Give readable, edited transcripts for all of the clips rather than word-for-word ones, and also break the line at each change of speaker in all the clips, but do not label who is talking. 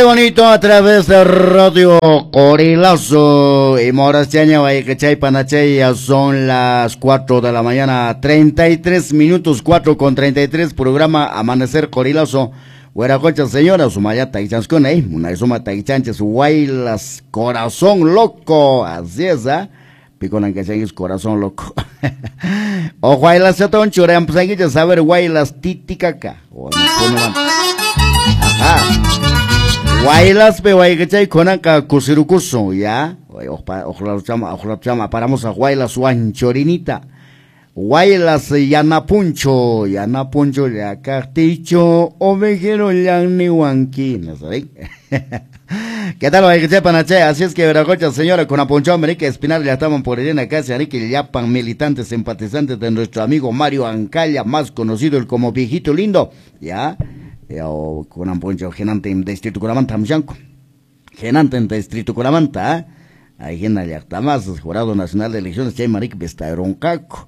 Bonito a través de Radio Corilazo y Morastiaña Guayquechay Panachay, ya son las 4 de la mañana, 33 minutos, 4:33, programa Amanecer Corilazo. Hueracocha, señora, Sumayata y Chanscona, una suma taichanches, Huaylas, corazón loco, así es, ¿ah? Piconan que es corazón loco. O Huaylas, chatón, churean, pues aquí ya saber Huaylas, titicaca. O no, ajá. Huaylas pe waykachay kunanqa kusirukusun ya oqla paramos a Huaylas wanchorinita Huaylas yanapuncho yanapuncho llakaqticho ovejero llanniwanki no saben. ¿Qué tal, waykachay panachay? Así es que Veracocha, señora, con apuncho América Espinal, ya estaban por en casa, que yapan militantes, simpatizantes de nuestro amigo Mario Ancalla, más conocido como Viejito Lindo, ya. O kunan poncho genante en distrito Curamanta Amshanco. Genante en distrito Curamanta, ahí gena llaqta Jurado Nacional de Elecciones chay marik vestaroncaco,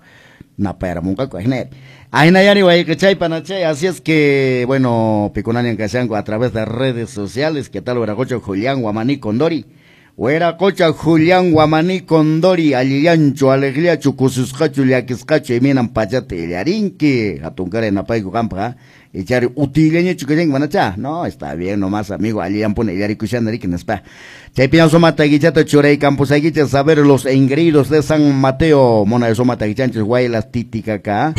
napayaramuncaco, ajina. Ajina yani waykachay panachay, así es que bueno, piconanian kashanco a través de redes sociales, ¿qué tal Hueracocha Julián Guamaní Condori? Hueracocha Julián Guamaní Condori, allillancho, alegriacho, kususqacho, llakisqacho, iminan pachata illarinki, hatunkara napayku qampa, echar utileñachu kashanki manacha, no, está bien nomás amigo, allillan pone illarikushana riki nispa. Chaypiña suma taguichata churay campusaguicha saber los engreídos de San Mateo, mona suma taguichanchis, Huaylas, Titicaca.